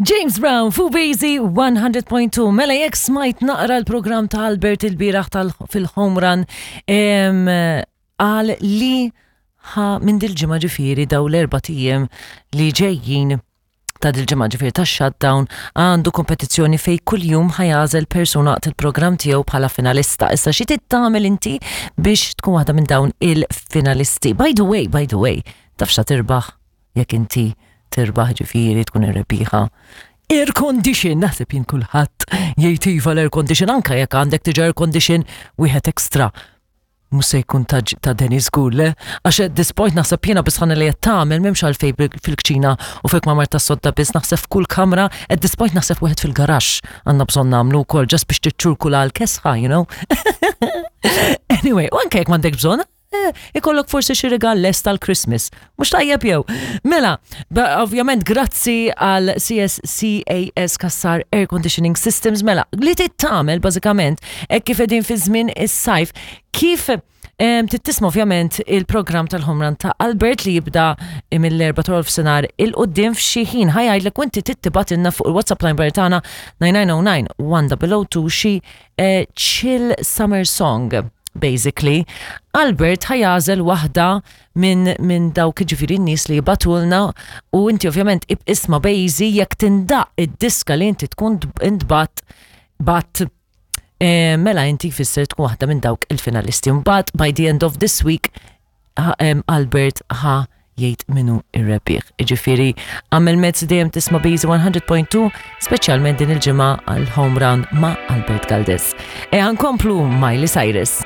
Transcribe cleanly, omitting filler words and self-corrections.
James Brown fu Bazy 100.2. Mela jekk smajt naqra l-programm ta' Albert il-bieraħ fil-home run qal li ħa minn dil-ġimgħa ġifieri daw l-erba' tijiem li ġejjin ta' dil-ġimgħa ġifieri ta' shutdown għandu kompetizzjoni fej kuljum ħa jagħżel persuna waqt il-programm tiegħu bħala finalista. Issa xi trid tagħmel inti biex tkun waħda minn dawn il-finalisti. By the way, by the way, taf xa tirbaħ jekk inti tirbaħ ġifieri tkun ir-rebbieħa. Air condition, naħseb jien kulħadd jgħid iva l-air condition anke jekk għandek diġà air condition wieħed extra. Mhux se jkun ta', ta Dennis żgur le, għax at this point naħseb jiena bisħana li qed tagħmel m'hemmx għalfejn fil-kċina u fil-kmamar tas-sodda biss naħseb f'kull kamra, at this point naħseb wieħed fil-garaxx għandna bżonn nagħmlu wkoll just biex tiċċurkula l-kesħa, you know. Anyway, u anke jekk m'għandek bżonn, Eh, ikollok forsi xi rigal lest tal-Christmas. Mhux tajjeb jew. Mela, ovvjament grazzi għal CSCAS Kassar Air Conditioning Systems, mela, li tittamel bażikament hekk kif qegħdin fi żmien is-sajf, kif tittisma ovvjament il-programm tal-Homran ta' Albert li jibda mill-4 ta' senar il-qoddim f'xi ħin ħajajdlek u inti tittibatilna fuq il-WhatsApp line tagħna 9909 1002 xi eh, chill summer song basically. Albert ħa jagħżel waħda minn min dawk ġifieri n-nies li jibatulna u inti ovvjament isma' bejzi jekk tindaq id-diska li inti tkun intbat bat eh, mela inti jfisser tkun waħda minn dawk il-finalisti. Mbagħad by the end of this week Albert ħa jgħid minu ir-rebbieħ. Iġifieri għamel mezz dejjem tisma' Bizi 100.2, speċjalment din il-ġimgħa għal home run ma' Albert Galdes. E nkomplu Miley Cyrus.